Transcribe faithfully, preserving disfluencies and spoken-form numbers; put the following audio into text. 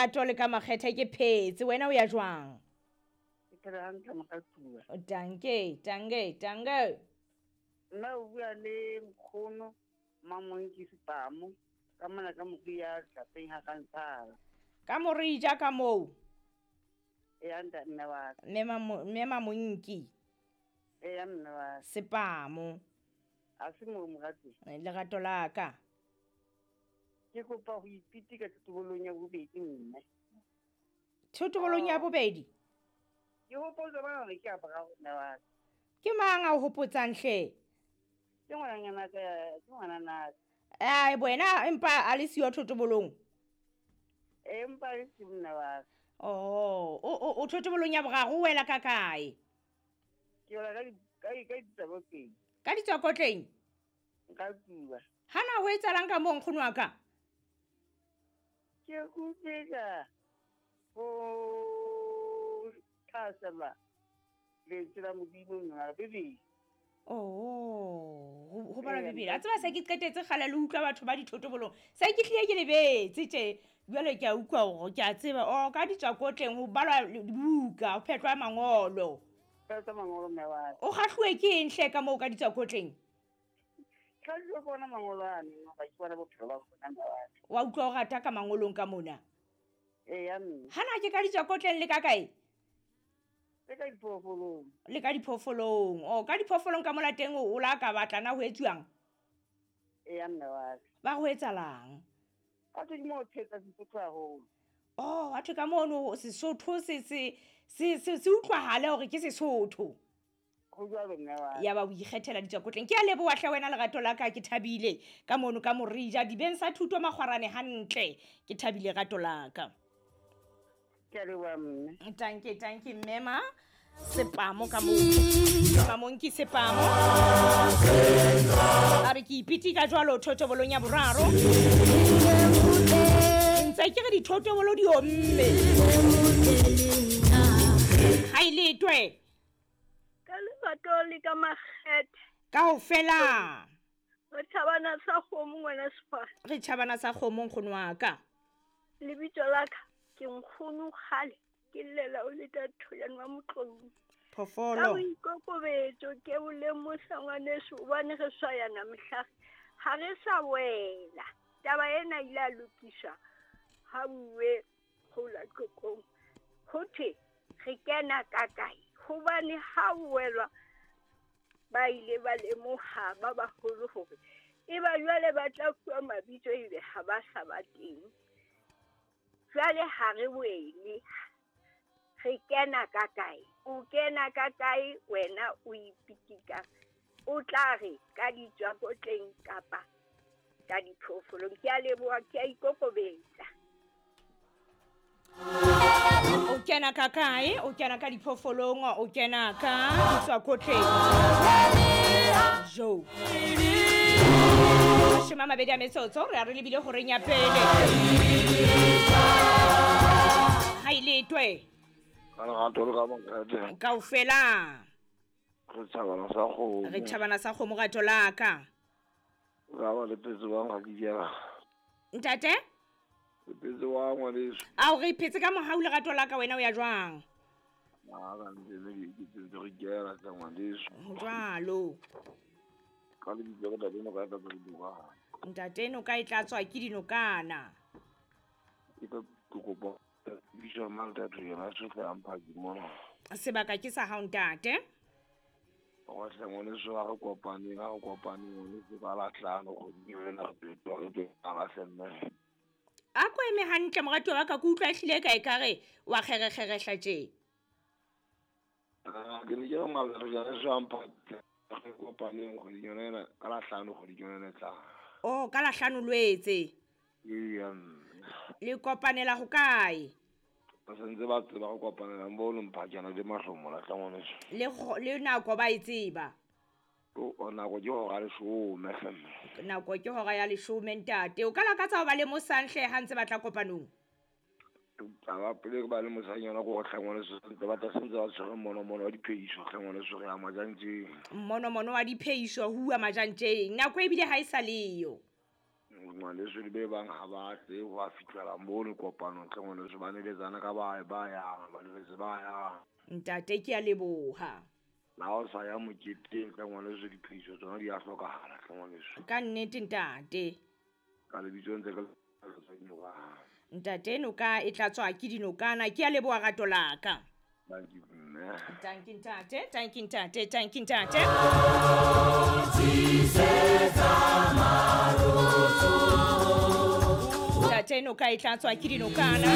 lerato le ka makgethe ke phetse wena o ya jwang? Ke phela hantle moratuwa. Danke, danke, danke. Nna o bua le nkgono Mamonki Sepamo ka mona ka Moria tlapeng ha ka ntsala. Ka Morija ka moo. E anda mme wa ka. Mme Mamonki. E ya mme wa ka. Sepamo. A se mo moratuwa. Lerato la ka. Ke kopa ho ipitika thotobolo ya bobedi mme. Thotobolong ya bobedi? Ke hopotsa bana le ke a boraro mme wa ka. Ke mang a o hopotsang hle? Ke ngwananyana ka, ke ngwanana. Ai wena empa a le siyo thotobolong? Empa le siyo mme wa ka. Oh, o o thotobolong ya boraro o wela ka kae? Ke wela ka ka ka ditswakotleng. Ka ditswakotleng? Nka bua. Hana ho etsahalang ka moo nkgono wa ka? Ke kutlwela ho thasela lentswe la Modimo mma Bibele. Oh, ho bala Bibele. A tseba se ke qetetse kgale le utlwa batho ba dithotobolong. Se ke hlile ke lebetse tje. Jwale ke a utlwa hore ke a tseba oh ka ditswakotleng ho balwa dibuka, ho phetlwa mangolo. Phetlwa mangolo mme wa ka. O kgahluwe ke eng hle ka moo ka ditswakotleng? Ka bona mangolo ane ba ke bona bophelo ba bona mme wa ka. Wa utlwa o rata ka mangolong ka mona? Ee ya mme. Hana ke ka ditswakotleng le ka kae? Le ka diphoofolong. Le ka diphoofolong. Oh, ka diphoofolong ka mola teng o la ka batla na ho etsuwang? Ee ya mme wa ka. Ba ho etsalang? Ka tse mo thetsa Sesotho haholo. Oh, batho ka mono Sesotho se se se se utlwahale hore ke Sesotho. Ho jwalo mme wa ka. Ya ba o ikgethela ditswakotleng. Ke a leboha hle wena lerato la ka, ke thabile ka mono ka Morija dibeng sa thuto makgwarane hantle. Ke thabile rato la ka. Ke a leboha mme. Tanke, tanke mme ma Sepamo ka moo. Mamonki Sepamo. A re ke ipitika jwalo thotobolong ya boraro. Ntse ke re dithotobolo di omme. Ha ile twe. Ka lerato le ka makgethe. Kaofela. Re tjhabana sa kgomo ngwana Sefara. Re tjhabana sa kgomo nkgono wa ka. Lebitso la ka ke nkgono kgale ke llela o le tatholane wa motlong. Phofolo. Ka boikokobetso ke o lemosa ngwaneso hobane re swayana mehla ha re sa wela. Taba ena ile a lokiswa ha bue kgola tlokong. Ho thwe re kena ka kae? Hobane ha welwa ba ile ba lemoha ba baholo hore e ba jwale ba tla fuwa mabitso ebe ha ba sa ba teng. Jwale ha re wele, re kena ka kae? O kena ka kae wena o ipitika? O tla re ka ditswakotleng kapa ka diphoofolong. Ke a leboha, ke a ikokobetsa. O kena ka kae? O kena ka diphoofolong, o kena ka ditswakotleng. Jo. Mashome a mabedi a metsotso re a re lebile horeng ya pele. Ha ile twe. Ka lerato le ka makgethe. Kaofela. Re tjhabana sa kgomo. Re tjhabana sa kgomo rato la ka. Ra ba le phetse wa ga ke jela. Ntate? Le phetse wa ngwaneso. Ao re phetse ka mohau lerato la ka wena o ya jwang? A ka ntse le ke ntse re kela tsa ngwaneso. Jwalo. Ka lebitso la ntate no ka tla dinokana. Ntate no ka e tla tswa ke dinokana. Ke ka kopa bitso mang ntate yena se tla mpha ke mona. Sebaka ke sa hao ntate. Wa hle ngwaneso ha re kopane, ha re kopane ngwaneso ka la hlano kgwedi ena re tlo re tlo ka hle mme. A ko eme hantle moratuwa wa ka, ke utlwa ehlile ka ekare wa kgerekgerehla tje. Ke ne ke re ngwaneso ya mpha re kopaneng kgwedi yona ena ka la hlano kgwedi yona ena e tlang. Oh, ka la hlano Lwetse. Ee, mme. Le kopanela ho kae? Ba sentse ba tseba go kopanela mo le mphakana le mahlomola tla ngwaneso. Le le nako ba e tseba. O nako ke hora leshome hle mme. Nako ke hora ya leshome ntate. O ka lakatsa ho ba le mosanhle ha ntse ba tla kopanong? Taba pele ke ba le mosanyana go hle ngwaneso ntse ba tla sentse ba tshwere monomono wa dipheiso hle ngwaneso re ya majantjeng. Monomono wa dipheiso huwa majantjeng. Nako ebile ha e sa leyo. Ngwaneso le be bang ha ba tle ho a fihlela mono kopanong hle ngwaneso, ba neletsana ka ba ba yang, ba neletse ba yang. Ntate ke a leboha. La ha o sa ya moketeng hle ngwaneso, diphiso tsona di a hlokahala hle ngwaneso. Ka nnete ntate. Ka lebitso ntse ke tsa dinokana. Ntate noka e tlatswa ke dinokana, ke a leboha rato la ka. Thank you mme. Thank you ntate, thank you ntate, thank you ntate. Ntate noka e tlatswa ke dinokana.